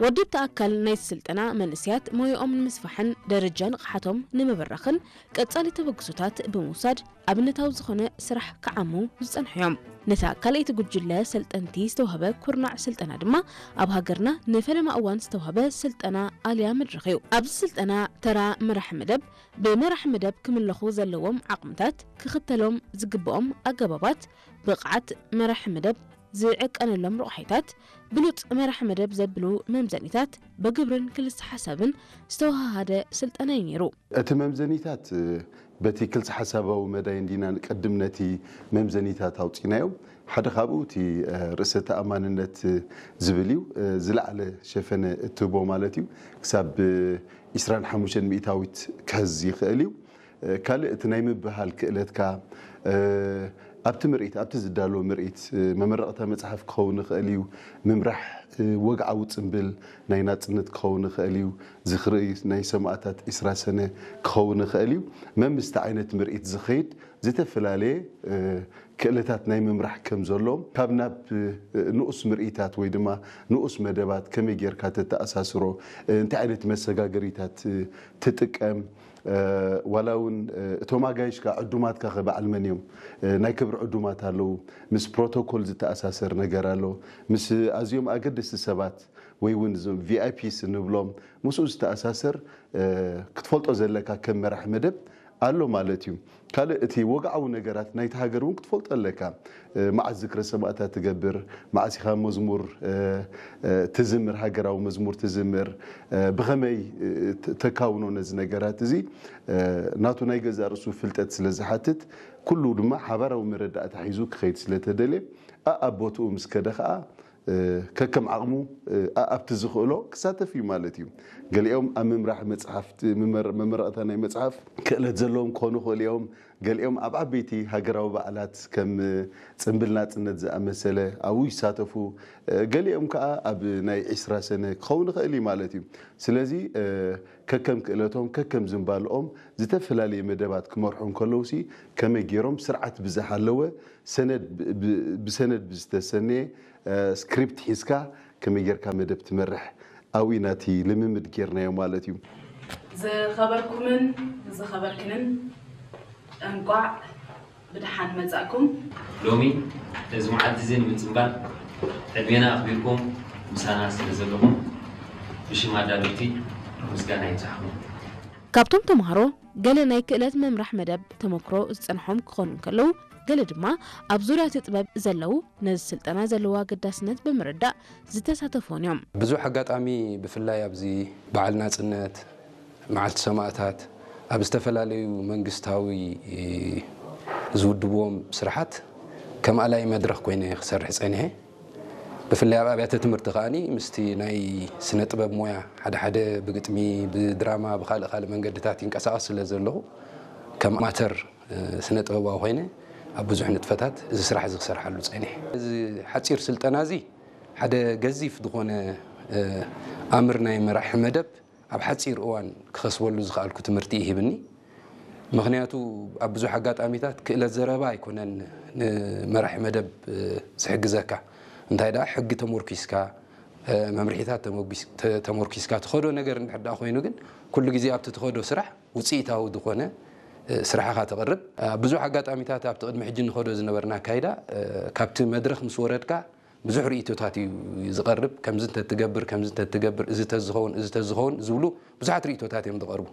ወደብቲ ኣካል ናይ ስልጠና መንእሰያት ሞያኦም ንምስፋሕን ደረጃ ንቕሓቶም ንምብራኽን ቀጻሊ ተበግሶታት ብምውሳድ ኣብነታዊ ዝኾነ ስራሕ ክዓሙ ዝጸንሑ እዮም። ነታ ካልኣይቲ ጉጅለ ሰልጠንቲ ዝተዋህበ ኩርናዕ ስልጠና ድማ ኣብ ሃገርና ንፈለማ እዋን ዝተዋህበ ስልጠና ኣልያ መድረኽ እዩ። ኣብዚ ስልጠና ተራ መራሒ መደብ ብመራሒ መደብ ክምለኹ ዘለዎም ዓቕምታት፣ ክኽተሎም ዝግብኦም ኣገባባት፣ ብቕዓት መራሒ መደብ ዝዕቀነሎም ረቑሒታት፣ ብሉጽ መራሒ መደብ ዘብሉ መምዘኒታት ብግብርን ክልሰ ሓሳብን ዝተወሃሃደ ስልጠና እዩ ነይሩ። እቲ መምዘኒታት በቲ ክልሰ ሓሳባዊ መዳይ እንዲና ንቀድም ነቲ መምዘኒታት ኣውፂናዮ። ሓደ ካብኡ እቲ ርእሰ ተኣማንነት ዝብል እዩ። ዝለዓለ ሸፈነ እትህቦ ማለት እዩ። ክሳብ ዕስራን ሓሙሽተን ሚእታዊት ክሕዝ ይኽእል እዩ። ካልእ እቲ ናይ ምብሃል ክእለትካ ኣብቲ ምርኢት ኣብቲ ዝዳሎ ምርኢት መመረቕታ መፅሓፍ ክኸውን ይኽእል እዩ። ምምራሕ ወግዓዊ ፅምብል ናይ ናፅነት ክኸውን ይኽእል እዩ። ዝኽሪ ናይ ሰማእታት ዕስራ ሰነ ክኸውን ይኽእል እዩ። መምስቲ ዓይነት ምርኢት ዝኸይድ ዝተፈላለየ ክእለታት ናይ ምምራሕ ከም ዘሎም ካብ ናብ ንኡስ ምርኢታት ወይ ድማ ንኡስ መደባት ከመይ ጌርካ ተተኣሳስሮ እንታይ ዓይነት መሰጋገሪታት ትጥቀም ዋላ እውን እቶም ኣጋይሽካ ዕዱማትካ ከ በዓል መን እዮም? ናይ ክብሪ ዕዱማት ኣለዉ። ምስ ፕሮቶኮል ዝተኣሳሰር ነገር ኣሎ። ምስ ኣዝዮም ኣገደስቲ ሰባት ወይ እውን እዞም ቪኣይፒስ እንብሎም ምስኡ ዝተኣሳሰር ክትፈልጦ ዘለካ ከም መራሕ መደብ ኣሎ ማለት እዩ። ካልእ እቲ ወግዓዊ ነገራት ናይቲ ሃገር እውን ክትፈልጦ ኣለካ። መዓስ ዝክረ ሰማእታት ትገብር፣ መዓስ ኢኻ መዝሙር ትዝምር፣ ሃገራዊ መዝሙር ትዝምር፣ ብኸመይ ተካውኖ ነዚ ነገራት እዚ ናቱ ናይ ገዛእ ርእሱ ፍልጠት ስለ ዝሓትት ኩሉ ድማ ሓባራዊ መረዳእታ ሒዙ ክኸይድ ስለ ተደልየ ኣኣብ ቦትኡ ምስ ከደ ኸዓ ከከም ዓቕሙ ኣብቲ ዝኽእሎ ክሳተፍ እዩ ማለት እዩ። ገሊኦም ኣብ ምምራሕ መፅሓፍቲ መመረቕታ ናይ መፅሓፍ ክእለት ዘለዎም ክኾኑ ይኽእሉ እዮም። ገሊኦም ኣብ ዓበይቲ ሃገራዊ በዓላት ከም ፅምብል ናፅነት ዝኣመሰለ ኣብኡ ይሳተፉ። ገሊኦም ከዓ ኣብ ናይ ዕስራ ሰነ ክኸውን ይኽእል እዩ ማለት እዩ። ስለዚ ከከም ክእለቶም ከከም ዝንባልኦም ዝተፈላለየ መደባት ክመርሑ እንከለውሲ ከመይ ገይሮም ስርዓት ብዝሃለወ ሰነድ ብሰነድ ብዝተሰነየ ስክሪፕት ሒዝካ ከመይ ጌርካ መደብ ትመርሕ ኣብኡ ኢና እቲ ልምምድ ጌርናዮ ማለት እዩ። ዝኸበርኩምን ዝኸበርክንን እንቋዕ ብድሓን መጻእኩም። ሎሚ እዚ መዓልቲ እዚ ንምጽንባል ዕድሜና ኣኽቢርኩም ምሳና ስለ ዘለኹም ብሽም ኣዳለውቲ ምስጋና ይብጻሕኩም። ካብቶም ተምሃሮ ገለ ናይ ክእለት ምምራሕ መደብ ተመክሮ ዝጸንሖም ክኾኑ እንከለዉ፣ ገለ ድማ ኣብ ዙርያ እቲ ጥበብ ዘለዉ ነዚ ስልጠና ዘለዎ ኣገዳስነት ብምርዳእ ዝተሳተፉ እውን እዮም። ብዙሕ ኣጋጣሚ ብፍላይ ኣብዚ በዓል ናጽነት፣ መዓልቲ ሰማእታት ኣብ ዝተፈላለዩ መንግስታዊ ዝውድብዎም ስራሓት ከም ኣላይ መድረኽ ኮይነ ክሰርሕ ጸኒሐ። ብፍላይ ኣብ ኣብያተ ትምህርቲ ከኣ ምስቲ ናይ ስነ ጥበብ ሞያ ሓደ ሓደ ብግጥሚ፣ ብድራማ፣ ብካልእ ካልእ መንገድታት ይንቀሳቐስ ስለ ዘለኹ ከም ኣማተር ስነ ጥበባዊ ኮይነ ኣብ ብዙሕ ንጥፈታት እዚ ስራሕ እዚ ክሰርሓሉ ጸኒሐ። እዚ ሓጺር ስልጠና እዚ ሓደ ገዚፍ ዝኾነ ኣምር ናይ መራሒ መደብ ኣብ ሓጺር እዋን ክኸስበሉ ዝኸኣልኩ ትምህርቲ እዩ ሂብኒ። ምኽንያቱ ኣብ ብዙሕ ኣጋጣሚታት ክእለት ዘረባ ኣይኮነን ንመራሒ መደብ ዝሕግዘካ። እንታይ ደኣ ሕጊ ተሞርኪስካ፣ መምርሒታት ተሞርኪስካ ትኸዶ ነገር እንድሕር ደኣ ኮይኑ ግን ኩሉ ግዜ ኣብቲ ትኸዶ ስራሕ ውፅኢታዊ ዝኾነ ስራሕኻ ተቕርብ። ኣብ ብዙሕ ኣጋጣሚታት ኣብቲ ቅድሚ ሕጂ ንኸዶ ዝነበርና ኣካይዳ ካብቲ መድረኽ ምስ ወረድካ ብዙሕ ርእይቶታት እዩ ዝቐርብ። ከምዚ እንተትገብር ከምዚ እንተትገብር እዚ ተዝኸውን እዚ ተዝኸውን ዝብሉ ብዙሓት ርእይቶታት እዮም ዝቐርቡ።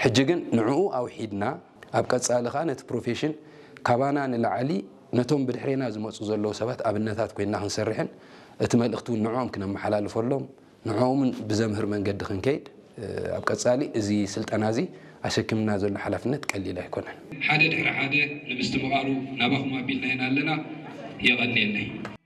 ሕጂ ግን ንዕኡ ኣውሒድና ኣብ ቀጻሊ ከኣ ነቲ ፕሮፌሽን ካባና ንላዕሊ ነቶም ብድሕሬና ዝመጹ ዘለዉ ሰባት ኣብነታት ኮይንና ክንሰርሕን እቲ መልእኽቲ እውን ንዕኦም ክነመሓላልፈሎም ንዕኦምን ብዘምህር መንገዲ ክንከይድ ኣብ ቀጻሊ እዚ ስልጠና እዚ ኣሸኪምና ዘሎ ሓላፍነት ቀሊል ኣይኮነን። ሓደ ድሕሪ ሓደ ንምስትምቓሩ ናባኹም ኣቢልና ኢና ኣለና። የቐንየለይ።